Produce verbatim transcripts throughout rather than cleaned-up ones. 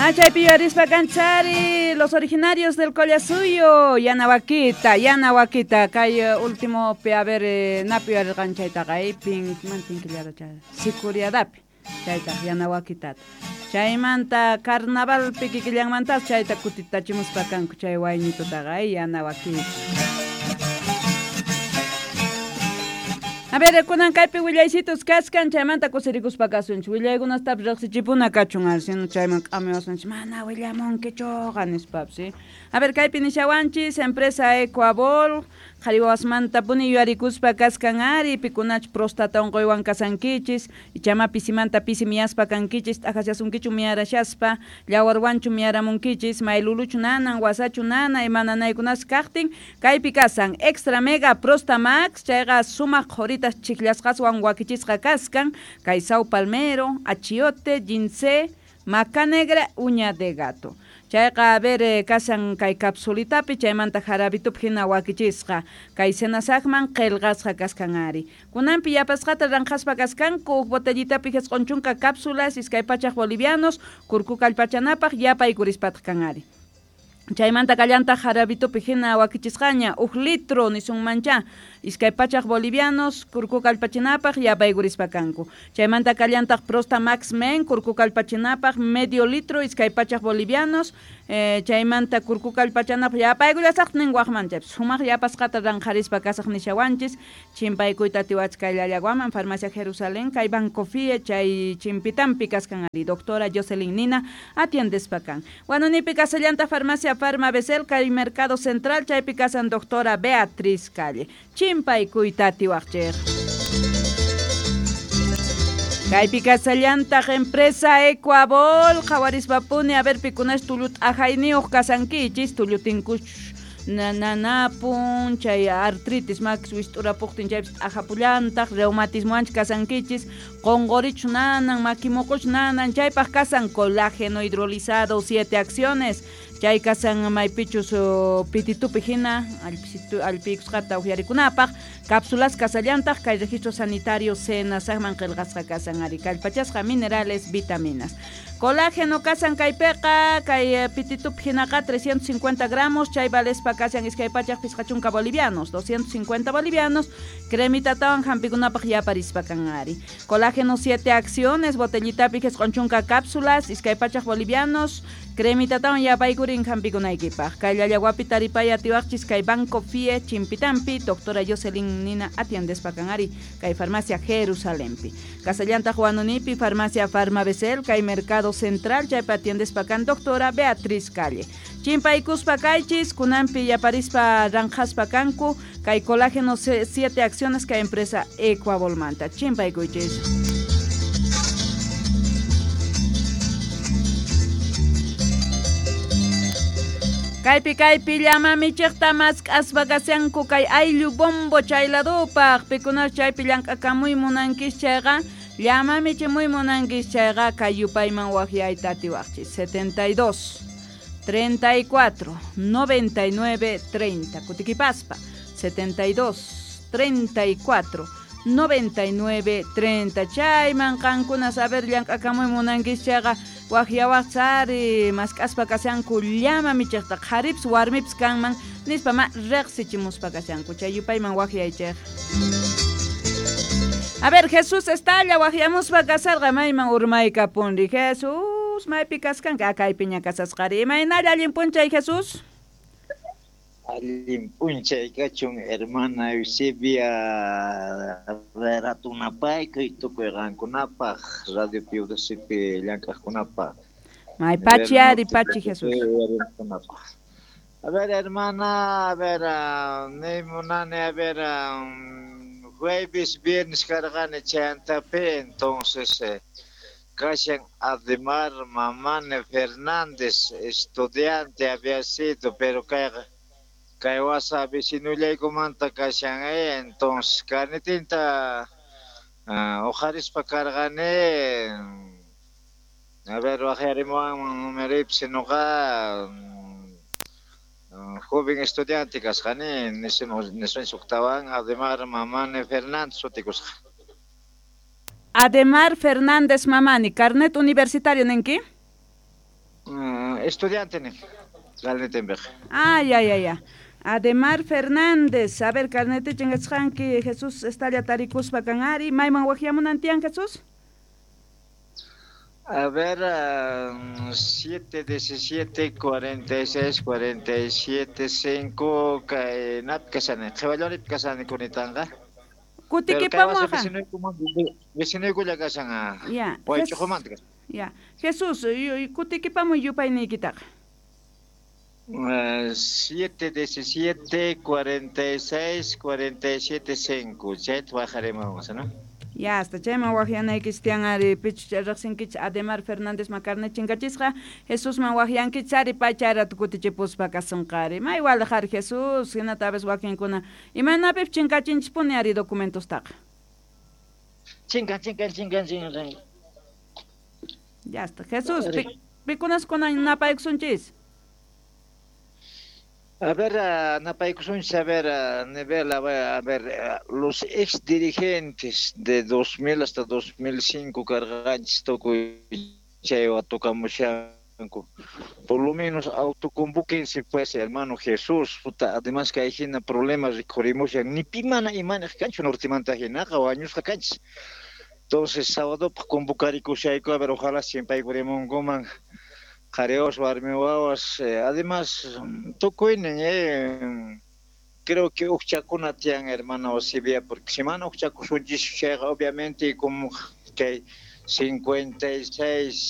Ah, chaypi yuyarispa kanchari, los originarios del Collasuyo, Yanahuaquita, Yanahuaquita, kay último pe a ver, eh, napi yuyarirqan chaytaqa, eh, pink, man pinkillada chay, sicuriadapi, chayta Yanahuaquitata. Chaymanta carnaval pikikillanmantas chayta kutitachimuspa kanku chay wayñitutaqa, eh, Yanahuaquita. A ver, kunan kaypi willaysitos kaskan, chaymanta kusirikuspa kasunchik. Willaykunastapis riqsichipuna kachun, sino chayman k'amiwasunchik, mana willamunkichuqa nispapis, ¿sí? A ver, kaypi nishawanchis, empresa Ecuabol, qhari wawasmantapuni yuyarikuspa kaskan ari, pikunach prostata unquywan kasankichis, ichama pisimanta pisi miyaspa kankichis, t'aqashasunkichu miyarashaspa, llawarwanchu miyaramunkichis, mayluluchu nanan, wasachu nana, ima nanaykunas kaqtin, kaypi kasan Extra Mega Prosta Max, chayqa sumaq qhurita chiklasqaswan wakichisqa kaskan, kay sao palmero, achiote, ginseng, maca negra, uña de gato. Chayqa a ver kasan kay capsulitapi, chaymanta jarabitupi hina wakichisqa, kay senasaqman qillqasqa kaskan ari. Kunanpi yapasqata ranqaspa kaskanku, huk botellitapi jisq'un chunka cápsulas, iskay pachaq bolivianos, kurku kallpachanapaq yapaykurispataj kan ari. Chaymanta kallantaq jarabitupi hina wakichisqaña, huk litro nisunmancha, iskay pachaq bolivianos, kurku kallpachinapaq yapaykurispa kanku. Chaymanta kallantaq Prosta Max Men, kurku kallpachinapaq medio litro, iskay pachaq bolivianos, eh, chaymanta kurku kallpachanapaq yapaykullasaq nin waqman chaypis, sumaq yapasqata ranqarispa kasaq nishawanchis, chimpaykuyta atiwachkay llallaguaman, Farmacia Jerusalén, kay Banco Fie, chay chimpitampi kaskan ari, doctora Jocelyn Nina atiendespa kan. Wanunipi kasallanta Farmacia Farma Besel, kay Mercado Central, chaypi kasan doctora Beatriz Calle. Chimpaykuyta atiwaqchik. Kaypi kasallantaq empresa Ecuabol, qhawarispapuni, a ver pikunash tullut ajayniyuq kasankichis, tullutinkuch nanapun, chay artritis makis wist'urapuqtin chaypis t'ajapullantaq, reumatismoanchik kasankichis, qonqorichu nanan, makimuquch nanan, chaypaq kasan colágeno hidrolizado, siete acciones, chay kasan maypichus pititupi hina, allpikusqata uhyarikunapaq, cápsulas kasallantaq, kay registro sanitario senasaqman qillqasqa kasan ari, kallpachasqa minerales, vitaminas. Colágeno kasan kaypiqa, kay pititupi hinaqa trescientos cincuenta gramos, chay valespa kasan iskay pachaq pisqa chunka bolivianos, doscientos cincuenta bolivianos, cremitatawan hampikunapaq yaparispa kan ari. Colágeno siete acciones, botellitapi jisq'un chunka cápsulas, iskay pachaq bolivianos, cremitatawan yapaykurin hampikunaykipaq. Kay llallaguapi taripay atiwaqchis kay Banco Fie Chimpitampi, doctora Jocelyn Nina atiendespa kan ari, kay Farmacia Jerusalempi. Kasallantaq Huanunipi, Farmacia Farma Besel, kay Mercado Central, chaypi atiendespa kan doctora Beatriz Calle. Chimpaykuspa kaychis, kunanpi yaparispa ranqaspa kanku, kay colágeno siete acciones kay empresa Ecuabolmanta. Chimpaykuychis. Kaypi kaypi llama michiqta mask'aspa kashanku kay ayllu bombo chayladupaq, pikunash chaypi llank'akamuy munankis chayqa, llama michimuy munankis chayqa kay yupayman waqyayta atiwaqchis, setenta y dos, treinta y cuatro, noventa y nueve, treinta, kutikipaspa, setenta y dos, treinta y cuatro, noventa y nueve, treinta, chayman qankuna saber llank'akamuy munankis chayqa, waqyawaqsari mask'aspa kashanku llama michiqta qharipis warmipis kanman nispa ma riqsichimuspa kashanku, chay yupayman waqyaychik. A ver, Jesús Estalla waqyamuspa kasarqa mayman urmaykapunri. Jesús, maypi kaskanka kaypiña kasasqari. Imaynalla allin p'unchay, Jesús? Allin p'unchay kachun, hermana Eusebia, ratunapaykuy tukuy qankunapaq, Radio Piudasipi llank'aqkunapaq. May pachi ari pachi, Jesús. A ver, hermana, a ver, ni munani, a ver, jueves, viernes karqani chayantapi, entonces eh, kashan Ademar Mamane Fernández, estudiante había sido, pero kayqa kay wasa vecinullaykumanta kashan, eh, entonces carnitinta uh, uqharispa karqani, a ver, waqyarimuwanman numeripis nuqa joven estudiante kasqani, nisun suktawan Ademar Mamane Fernández sutikusqa. Ademar Fernández Mamani, carnet universitario ninki? Uh, estudiante ni. Carnetembeq. Ah, ya, ya, ya. Ademar Fernández, a ver, carnete chingasqanki, Jesús estalla tarikuspa kan ari, mayman waqyamunan tiyan, Jesús? A ver, uh, siete diecisiete cuarenta y seis cuarenta y siete cinco kay nap kasani, qhiwallorip kasani kunitanga. Kutikipamuqa. Vecinuykulla kashan. Ya. Waych'uqumanta kashan. Ya. Jesús, kutikipamuy yupayniykitaqa. Uh, siete diecisiete cuarenta y seis cuarenta y siete cinco. Chayta waqarimuwanqa, ¿no? Ya, hasta chayman waqyanaykichis tiyan ari pichus riqsinkichis Ademar Fernández macarne chinkachisqa Jesusman waqyankichis ari paychayratu kutichipuspa kasunqa ari may walej ari Jesús hinata a veces wakinkuna imaynapip chinkachinchispuni ari documentostaqa. Chinkan, chinkan, chinkan, chinkan. Ya está. Jesús, pi, pikunas kunan napaykusunchis? A ver, napaykusunchis, a ver, a nivel, a ver, a ver, los ex dirigentes de dos mil hasta dos mil cinco carganchis tukuy chaywa tocamushanku. Por lo menos autoconvóquense pues, hermano Jesús, puta, además que hay jina problemas rikhurimushan, ni pimana imana kanchu nortemanta hinaqa wañusqa kanchis. Entonces, sábado convocarikushayku, a ver, ojalá siempre aykurimunkuman. Jareos, warmi wawas, eh, además, tukuynin, eh, creo que uqchakuna tiyan, hermano Osibia, porque si mana uqchakusunchis chayqa, obviamente, como que cincuenta y seis,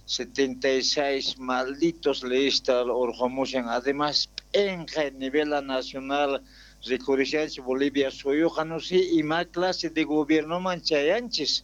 setenta y seis malditos lista urqumushan, además, p'enqay nivel nacional, rikurishanchis Bolivia suyuqa, no sé, ima clase de gobierno man chayanchis,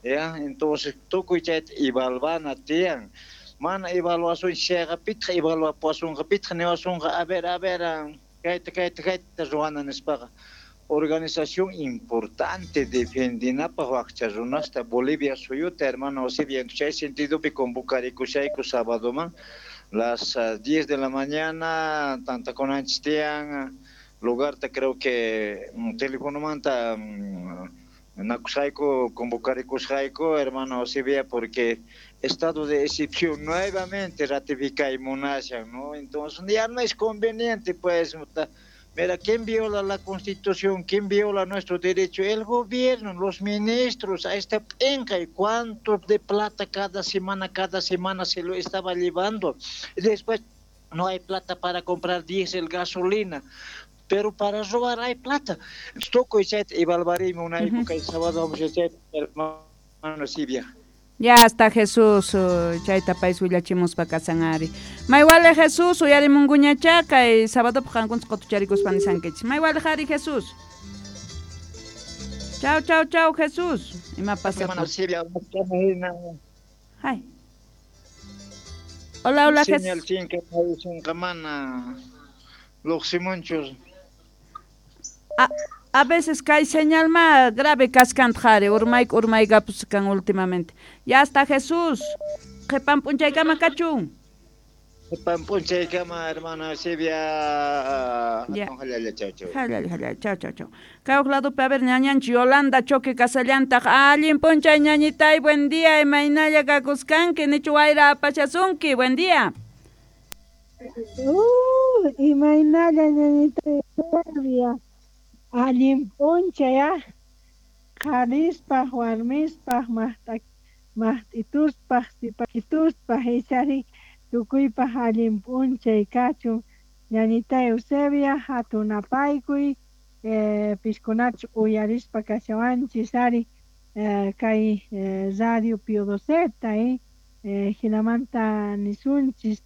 ya, entonces, tukuy chayta evalvana tiyan. Mana evaluación chayqa pitqa evaluapuasunqa pitqa niwasunqa a ver, a ver, kayta, kayta, kayta ruwana nispaqa. Organización importante defendinapaq waqcha runasta Bolivia suyuta, hermano Osibia, chay sentidopi convocarikushayku sábadoman las uh, diez de la mañana, tantakunanchis tiyan, lugarta creo que um, telefonomanta um, nakusqayku, convocarikusqayku, hermano Osibia, porque estado de excepción nuevamente ratificay munashan, ¿no? Entonces ya no es conveniente, pues, mira, ¿quién viola la Constitución? ¿Quién viola nuestro derecho? El gobierno, los ministros, a esta penca, ¿y cuánto de plata cada semana, cada semana se lo estaba llevando? Después no hay plata para comprar diésel, gasolina, pero para robar hay plata. Tukuy chayta evaluarimo una época el sábado vamos a hacer, hermano Silvia. Ya está Jesús, chayta pais willachimuspa kasan ari. Maywale Jesús, uyarimunkuñachá kay sábado qankunchis qutucharikuspa nisankichis. Maywale ari Jesús. Chau, chau, chau Jesús. Ima pasa? Hermano Silvia, Ay. Hola, hola Jesús. Señal chinka, mana. Luqsimunchus. A, a veces kay señal más grave kaskan jare, urmayk urmaykapuskan últimamente. Ya está Jesús. Qhipan p'unchaykama kachun. Qhipan p'unchaykama, hermana Silvia. Ya. Jalalla, chau, chau. Jalalla, jalalla, chau, chau, chau. Kay huk ladopi, a ver, ñañanchik Yolanda Choque kasallantaq. Allin p'unchay ñañitay, buen día, imaynalla kakuskanki, nichu wayra apashasunki, buen día. Uh, imaynalla ñañitay Silvia. Allin p'unchay, ah. Qharispaq, warmispaq, maqta maqt'ituspaq, sipakituspaq, ichari tukuypaq allin p'unchay kachun. Ñañitay Eusebia, hatun apaykuy, eh, piskunachus uyarispa kashawanchis ari eh, kay eh, Radio Pío Doceta, eh, eh, hinamanta nisunchis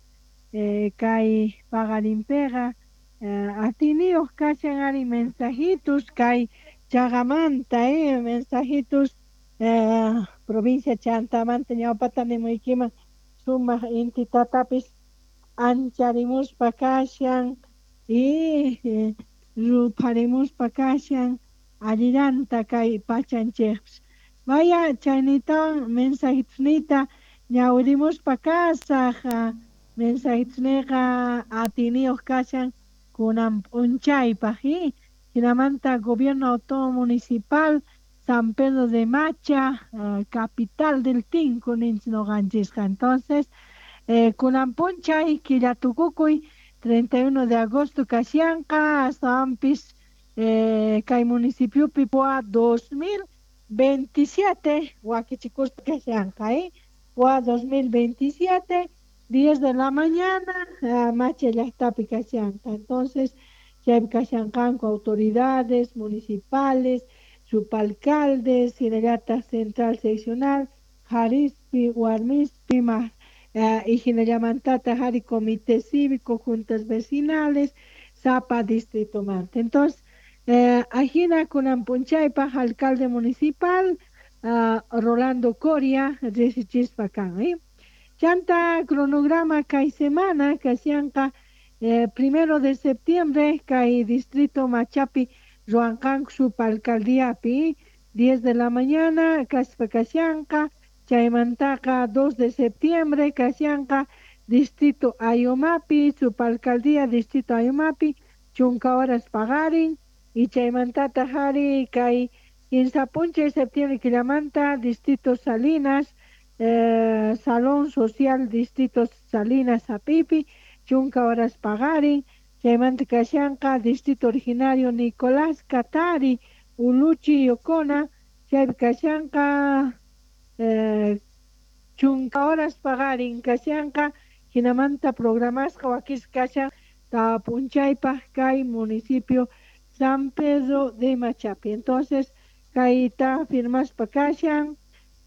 eh, kay paqarinpiqa eh, atiniyuq kashan ari mensajitos kay chaqamanta, eh, mensajitos eh, provincia Chantamanta ñawpata nimuykiman sumaq inti tatapis ancharimuspa kashan y eh, rupharimuspa kashan allillanta kay pachanchikpis. Vaya chaynitawan mensajitosniyta ñawirimuspa kasaq, mensajitosniyqa atiniyuq kashan kunan p'unchaypaq, eh. Hinamanta Gobierno Autónomo Municipal San Pedro de Macha, uh, capital del Tinku ninchis ñuqanchisqa. Entonces, Eh, kunan p'unchay killa tukukuy treinta y uno de agosto kashanqa astawanpis eh, kay municipiopi P O A dos mil veintisiete wakichikuspa kashanqa, eh? P O A dos mil veintisiete, diez de la mañana, uh, Macha llaqtapi kashanqa. Entonces, chaypi kashanqanku autoridades municipales, subalcaldes, hinallataq central seccional, Jarispi, Warmispi, ma, uh, y hinallamantata jari comité cívico, juntas vecinales, Zapa distrito manta. Entonces, eh, ajina kunan p'unchaypaq alcalde municipal uh, Rolando Coria riqsichispa kan, eh? Chanta cronograma kay semana kashanqa eh, primero de septiembre kay distrito Machapi ruwanqanku subalcaldiapi diez de la mañana kaspa kashanqa. Chaymantaqa dos de septiembre kashanqa distrito Ayomapi subalcaldía distrito Ayomapi chunka horas paqarin. Y chaymantata jari kay quince p'unchay septiembre killamanta distrito Salinas eh, Salón Social Distrito Salinas Apipi chunka horas paqarin. Chaymanta kashanqa distrito originario Nicolás Katari Uluchi Yocona chaypi kashanqa eh, chunka horas paqarin kashanqa. Hinamanta programasqa wakisqa kashan tawa p'unchaypaq kay municipio San Pedro de Machapi. Entonces, kayta firmaspa kashan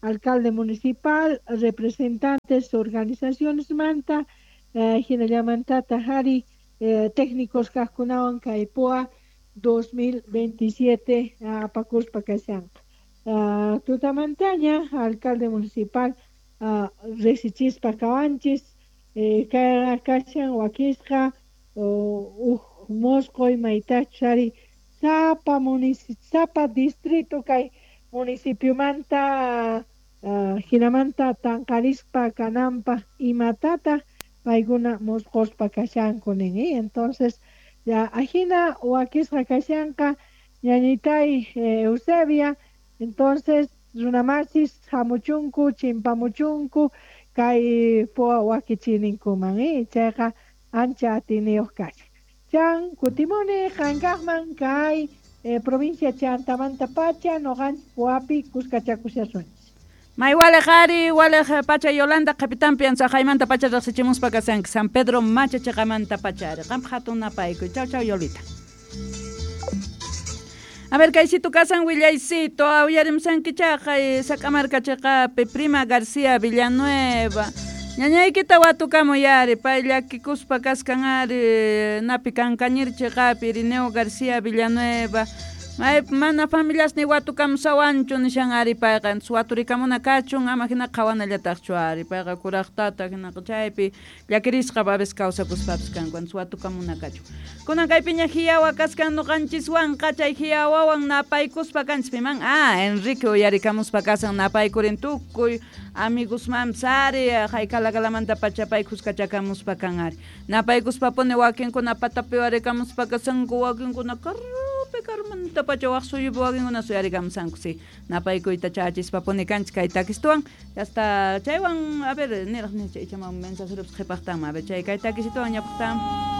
alcalde municipal, representantes, organizaciones manta, eh, hinallamantata jari eh, técnicos kajkunawan kay P O A dos mil veintisiete apakuspa kashanqa. Uh, tutamantaña alcalde municipal uh, riqsichispa kawanchis eh, kashan wakisqa uj mosqoy maytachus ari sapa municipio sapa distrito kay municipiomanta uh, hinamanta tanqarispa kananpaq imatataq paykuna mosqospa kashanku nin, eh? Entonces ya ajina wakisqa kashanqa ñañitay eh, Eusebia. Entonces runamasis hamuchunku chimpamuchunku kay P O A wakichininkuman, eh? Chayqa ancha atiniyuq kashan. Chan kutimuni qankaqman kay eh, provincia Chantamanta pacha noqanchis P O Api kuskachakushasunchis. May walej ari, walej pacha Yolanda kapitan piansaqaymanta pacha riqsichimuspa kasanki San Pedro Macha chiqamanta pacha ari. Qampa hatun napaykuy. Chau chau Yolita. A ver, kaysito kasan willaycito, uyarimsanki chaqay Sac'amarka chiqapi Prima García Villanueva. Ñañaykita watukamuy ari, pay llakikuspa kaskan ari, napi kankañir chiqapi Irineo García Villanueva. May mana familias ni watukamusawanchu nishan ari payqa, waturikamuna kachun ama hina qhawanallataqchu ari payqa kuraqtata hinaqa chaypi llakirisqa babes kawsakuspapis kanku, watukamuna kachun. Kunan kaypiña hiyawa kaskan nuqanchiswanqa chay hiyawawan napaykuspa kanchis piman, ah, Enrique uyarikamuspa kasan napaykurin tukuy amigosmanpis ari hayk'alakalamanta pacha pay kuskachakamuspa kan ari. Napaykuspa puni wakinkuna patapi warikamuspa kasanku wakinkuna karrupi karumanta pacha waq suyupi wakinkuna suyarikamusanku si. Napaykuyta chachispa puni kanchis kay takistuwan hasta chaywan a ver niraq nicha ichaman mensajeropis qhipaqtanman a ver chay kay takisituwan ñapaqtan.